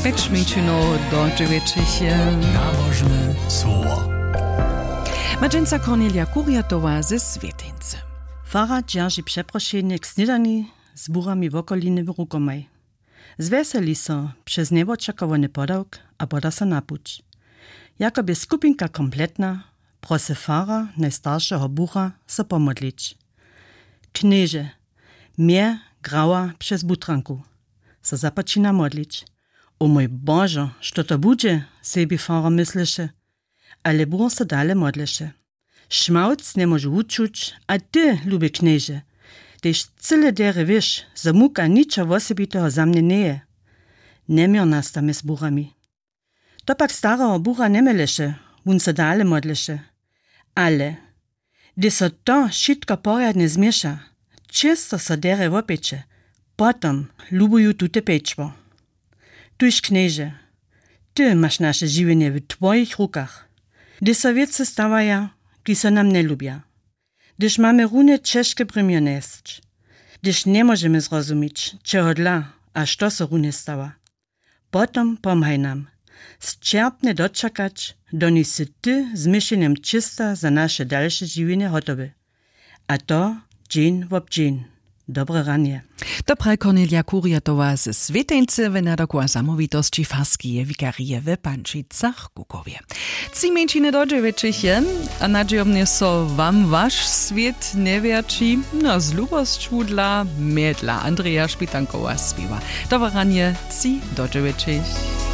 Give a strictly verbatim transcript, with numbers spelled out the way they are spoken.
Mjeńšinow do dźewjećich. Nabožne słowo. Ma dźensa Kornelija Kurjatowa ze Swěteńcy. Fara dźerži přeprošenje k snědani z burami wokoliny w rukomaj. Zwjeseli so přez njewočakowany podawk a poda so na puć. Jako bě skupinka kompletna, prosy fara najstaršeho bura so pomodlić. Knježe, mje grawa přez butranku, so započina modlić. O mój Božo, što to budźe, sebi fara mysleše. Ale bur so dale modleše. Šmałc njemóžu wučuć, a ty, luby knježe, tež cyle derje wěš, zo muka ničo wosebiteho za mnje njeje. Njeměr nasta mjez burami. To pak stareho bura njemjeleše, wón so dale modleše. Ale hdyž so to wšitko porjadnje změša, čěsto so derje wopjeće, potom lubuju tute pječło. Tuž knježe, ty maš naše žiwjenje w twojich rukach. Hdyž so wěcy stawaja, kiž so nam njelubja, hdyž mamy runje ćežke brěmjo njesć, hdyž njemóžemy zrozumić, čehodla a što so runje stawa, potom pomhaj nam sćerpnje dočakać, doniž sy ty z měšenjem čista za naše dalše žiwjenje hotowy. A to dźeń wob dźeń. Dobre ranje. To praji Kornelija Kurjatowa ze Swěteńcy w nadawku a zamołwitosći farskeje wikarije w Pančicach-Kukowje. Tři mjeńšiny do dźewjećich je, a nadźijomnje so wam waš swět njewjerći, no z lubosću dla mjedla Andreja Špitankowa spěwa. Dobre ranje, tři do dźewjećich.